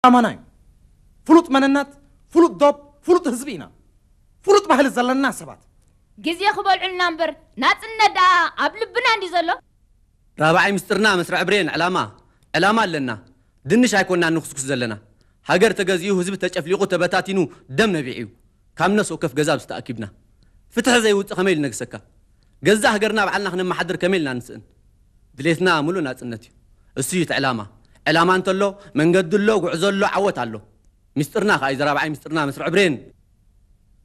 ኣማና እዩ። ፍሉጥ መንነት፣ ፍሉጥ ዶብ፣ ፍሉጥ ህዝቢ ኢና። ፍሉጥ ባህሊ ዘለና ሰባት። ግዜ ክበልዑልና እምበር ናጽነት ደኣ ኣብ ልብና እንዲ ዘሎ። ራብዓይ ምስጢርና መስርዕ ብሬን ዕላማ ዕላማ ኣለና። ድንሽ ኣይኮናን ንኹስኩስ ዘለና። ሃገር ተገዚኡ፣ ህዝቢ ተጨፍሊቑ፣ ተበታቲኑ፣ ደም ነቢዑ እዩ። ካብ ነፍሲ ወከፍ ገዛ ብዝተኣኪብና ፍትሒ ዘይውፅእ ከመይ ኢሉ ነግሰካ? ገዛእ ሃገርና ባዕልና ክነመሓድር ከመይ ኢልና ንስእን? ድሌትና ሙሉእ ናፅነት እዩ። እሱ እዩ እቲ ዕላማ። ዕላማ እንተሎ መንገዲ ኣሎ፣ ጉዕዞ ኣሎ፣ ዓወት ኣሎ። ምስጢርና ከዓ እዩ ዘራብዓይ ምስጢርና መስርዕ ብሬን።